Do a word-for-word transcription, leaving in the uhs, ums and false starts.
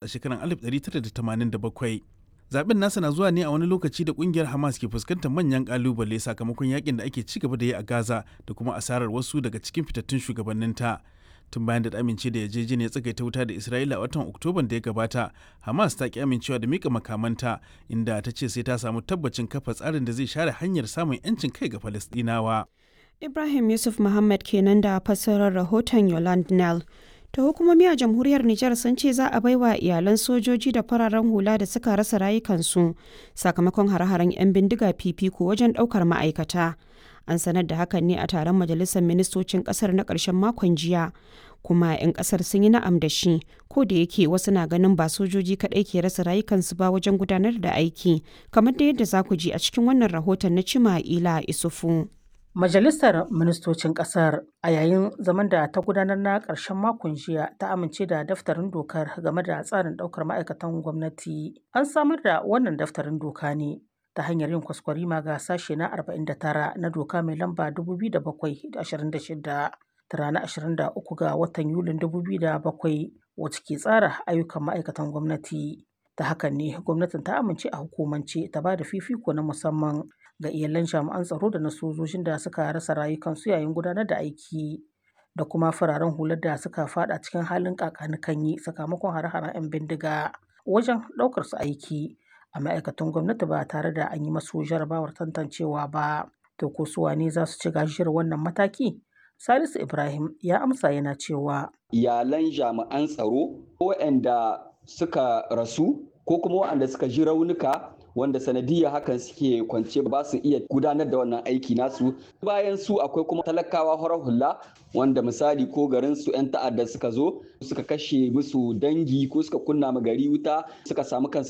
A shekarar alif ɗari tara da tamanin da bakwai. Zaben nasa na zuwa ne a wani lokaci da kungiyar Hamas ke fuskantar manyan kalubale sakamakon yakin da ake ci gaba da yi a Gaza da kuma asarar wasu daga cikin fitattun shugabanninta. Tun bayan da ta amince da yarjejeniyar tsagaita wuta da Isra'ila a watan Oktoban da ya gabata, Hamas ta ki amincewa da mika makamanta, inda ta ce sai ta samu tabbacin kafa tsarin da zai share hanyar samun 'yancin kai ga Falastinawa. Ibrahim Yusuf Muhammad kenan da fassarar rahoton Yolande Nell. Ta hukumomi a jamhuriyar Nijar sun ce za a baiwa iyalan sojoji da fararen hula da suka rasa rayukansu sakamakon hare-haren 'yan bindiga fifiko wajen ɗaukar ma'aikata. An sanar da hakan ne a taron majalisar ministocin ƙasar na ƙarshen makon jiya. Kuma 'yan ƙasar sun yi na'am da shi, ko da yake wasu na ganin ba sojoji kaɗai ke rasa rayukansu ba wajen gudanar da aiki, kamar da yadda za ku ji a cikin wannan rahoton na Cima Ila Isufu. Majalisar Ministocin Ƙasar a yayin zaman da ta gudanar na ƙarshen makon jiya ta amince da daftarin dokar game da tsarin ɗaukar ma'aikatan gwamnati. An samar da wannan daftarin doka ne ta hanyar yin kwaskwarima ga sashe na arba'in da tara na doka mai lamba dubu biyu da bakwai da ashirin da shida ta ranar ashirin da uku ga watan Yulin dubu biyu da bakwai, wacce ke tsara ayyukan ma'aikatan gwamnati. Ta hakan ne gwamnatin ta amince a hukumance ta ba da fifiko na musamman ga iyalan jami'an tsaro da na sojojin da suka rasa rayukansu yayin gudanar da aiki, da kuma fararen hular da suka fada cikin halin kakanikanyi sakamakon hare-haren 'yan bindiga, wajen ɗaukar su aiki a ma'aikatan gwamnati ba tare da an yi masu jarabawar tantancewa ba. To, ko su wane za su ci gajiyar wannan mataki? Salisu Ibrahim ya amsa yana cewa: Iyalan jami'an tsaro waɗanda suka rasu ko kuma waɗanda suka ji raunuka, wanda sanadiyya hakan suke kwance ba su iya gudanar da wannan aiki nasu. Bayan su akwai kuma talakawa horar hula, wanda misali ko garin su 'yan ta'adda suka zo suka kashe musu dangi ko suka kunna ma gari wuta, suka samu kansu